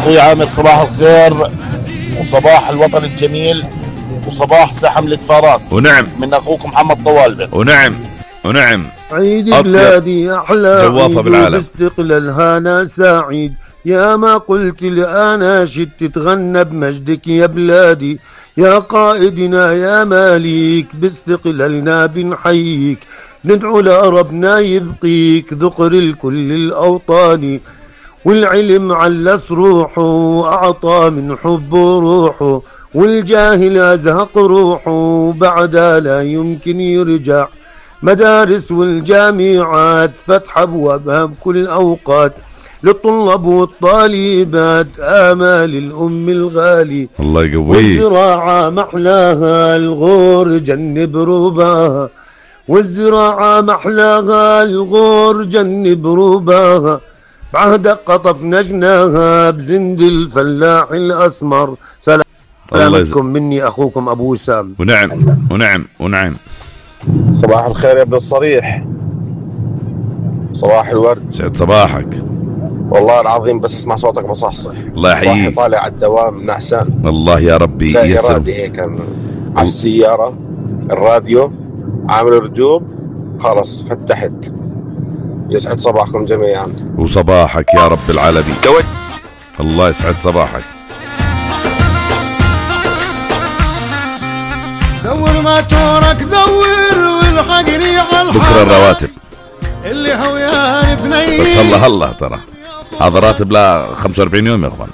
اخوي عامر صباح الخير وصباح الوطن الجميل وصباح زحم الكفارات. ونعم. من اخوكم محمد طوالبه. ونعم. عيد بلادي أحلى جوافة بالعالم. باستقلالها أنا سعيد. يا ما قلت الأناشد تتغنى بمجدك يا بلادي. يا قائدنا يا مالك باستقلالنا بنحييك. ندعو لربنا يبقيك ذقر الكل الأوطاني. والعلم علس روحه وأعطى من حبه روحه. والجاهل أزهق روحه بعدها لا يمكن يرجع. مدارس والجامعات فتح أبوابها بكل أوقات. للطلاب والطالبات آمال الأم الغالي. الله يقويه. والزراعة محلاها الغور جنب رباها. والزراعة محلاها الغور جنب رباها. بعهدك قطفنا جناها بزند الفلاح الأسمر. سلامتكم مني أخوكم أبو وسام. ونعم. صباح الخير يا ابن الصريح. صباح الورد. سعد صباحك. والله العظيم بس اسمع صوتك بصحصح. الله يحييك. صاحي طالع على الدوام نعسان. الله يا ربي يسر. إرادي هيك على السيارة الراديو عامل رجوب خلص فتحت. يسعد صباحكم جميعا. وصباحك يا رب العالمين. الله يسعد صباحك. دور ما تورك دور والحقني على بكرة الرواتب اللي هو يا بني. بس هلا ترى هذا راتب لا 45 يوم يا اخوان.